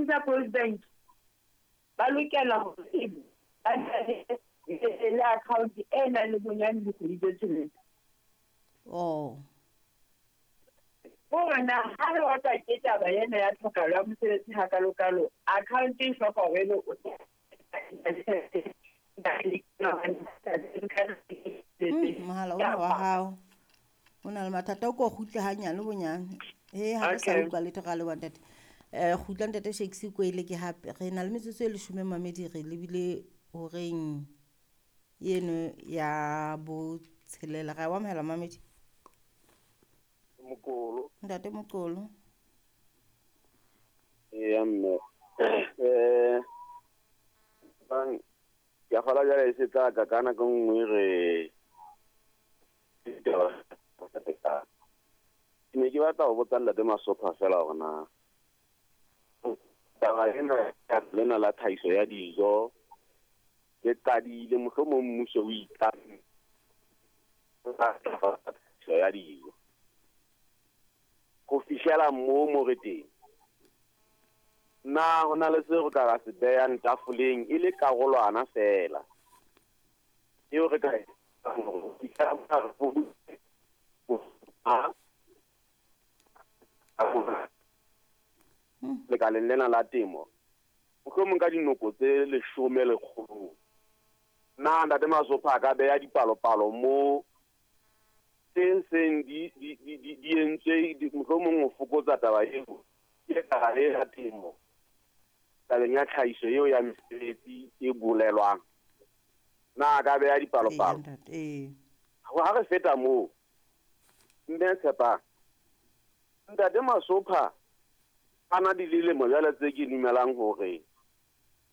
Office Post Bank ba lokela hore ebe ba na le account e nang le bonyane dikgwedi tse tsheletseng. Oh. Hore na ha re otlwa ke taba ena ya tlhokahalo ya mosebetsi hakalokalo, account e hloka hore ebe o Mohala ona wa hao o na le mathata, o ko kgutle hanyane bonyane. He, ha re sa utlwa letho ra leboha ntate. Kgutla ntate Shakes Kwele ke hape re na le metsotso e leshome mamedi re lebile horeng eno ya botshelela. Ra o amohela mamedi. Mokolo. Ntate Mokolo. Eya mme. Bang ke a kgolwa jwale e se tla ka ka nako e nngwe re ke ne ke batla ho botsa Ntate Masopha fela hore na taba ena lena la tlhahiso ya dijo ke qadile mohlomong mmuso o itla tlhahiso ya dijo ho fihlela moo mo re teng. Na ho na le seo re ka ra se behang tafoleng e le karolwana feela eo re ka e lekaleng lena la temo mohlomong ka dinoko tse leshome lekgolong. Na Ntate Masopha a ka beha dipalopalo mo tse seng di entswe mohlomong ho fokotsa taba eo ke lekala le la temo tabeng ya tlhahiso eo ya mesebetsi e bolelwang. Na a ka beha dipalopalo? Ha re feta moo, mme Tshepang, Ntate Masopha a na di lilemo jwale tse ke dumelang hore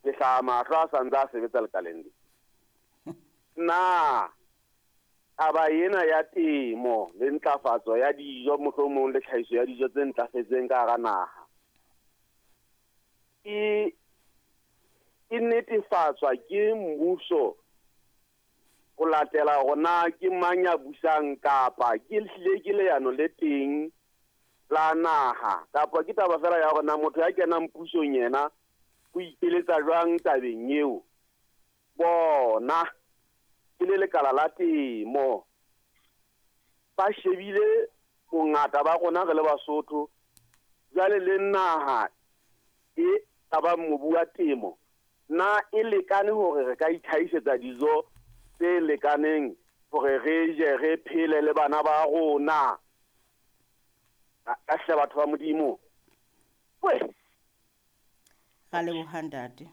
ke hlaha mahlo a sa ntse a sebetsa lekaleng le. Na taba ena ya temo le ntlafatso ya dijo mohlomong le tlhahiso ya dijo tse ntlafetseng ka hara naha e netefatswa ke mmuso ho latela hore na ke mang ya busang kapa ke hlile ke leano le teng la naha kapa ke taba fela ya hore na motho ya kenang pusong yena o ikeletsa jwang tabeng eo. Bona ke le lekala la temo ba shebile bongata ba rona re le Basotho jwale le naha e ka mobu wa temo na e lekane hore re ka itlhahisetsa dijo tse lekaneng hore re je re phele le bana ba rona. Ka hle batho ba Modimo. Ra leboha ntate.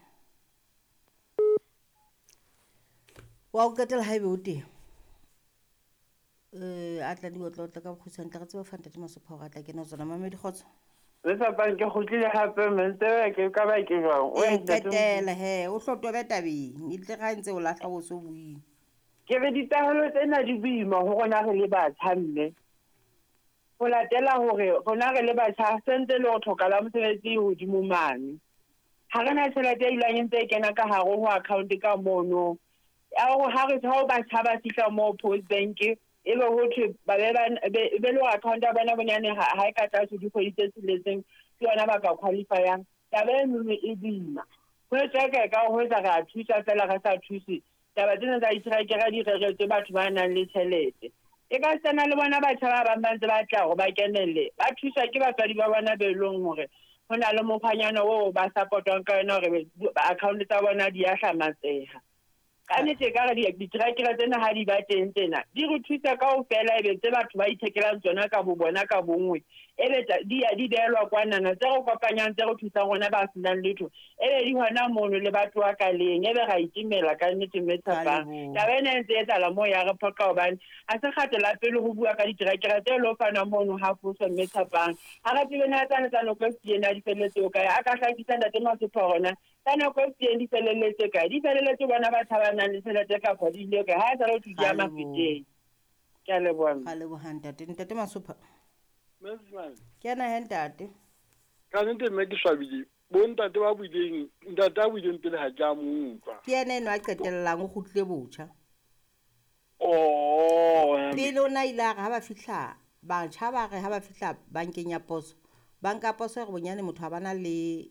Wa o qetela haebe o teng. A tla di otla ka bokgutshwane tla re tseba fa Ntate Masopha hore a tla kena tsona. Mamedi kgotso. Le Tshepang ke kgutlile hape mme ntse ke ka ba ke jwang. O qetela he, o hlotobe tabeng. E tle ga ntse o lahla o so buile. Ke re ditahelo tsena di boima ho rona re le batjha mme. Ho latela hore rona re le batjha sentse le ho tlhoka la mosebetsi hodimo mane. Ha re na tjhelete e dulang e ntse e kena ka hare ho account ka mono. Ya hore ha re ha batjha ba fihla moo Post Bank e be ho thwe ba be be le account ya bona bonyane ha e ka tlase dikgwedi tse tsheletseng ke yona ba ka qualifyang. Taba eno e boima. Ho etswa ka ho etsa re a thusa fela re sa thuse. Taba tsena tsa diterekere di reretswe batho ba nang le tjhelete. E ka sena le bona batjha ba bang ba ntse ba tla hore ba kenelle. Ba thuswa ke batswadi ba bona be leng hore ho na le mokgwanyana oo ba support-wang ka yona hore account tsa bona di a hlamatseha. Ka nnete ka re diterekere tsena ha di ba teng tsena di re thusa kaofela ebe tse batho ba ithekelang tsona ka bo bona ka bonngwe ebe di ya di behelwa kwanana tse re kopanyang tse re thusang rona ba senang letho ebe di hona mono le batho ba ka leng ebe ra itimela ka nnete mme Tshepang. Taba ena e ntse e etsahala moo ya re phoqa hobane ha se kgato la pele ho bua ka diterekere tse lo fanwa mono ha foso mme Tshepang. Ha re tsebe na tsane tsa nako e fetileng na di felletse ho kae. A ka hlakisa Ntate Masopha hore na tsa nako e fetileng di felelletse kae. Di felelletse bona batjha ba nang le tjhelete kapa di ile kae. Ha e sa le ho thwe di ya mafeteng. Ke a leboha. Ra leboha ntate. Ntate Masopha. Ke ena he ntate. Ka nnete mme ke swabile. Bo ntate ba buileng, ntate a buileng pele ha ke a mo utlwa. Ke ena eno a qetellang o kgutlile botjha. Oh, pele o na ile a re ha ba fihla batjha ba re ha ba fihla bankeng ya poso. Banka ya poso e re bonyane motho ha bana le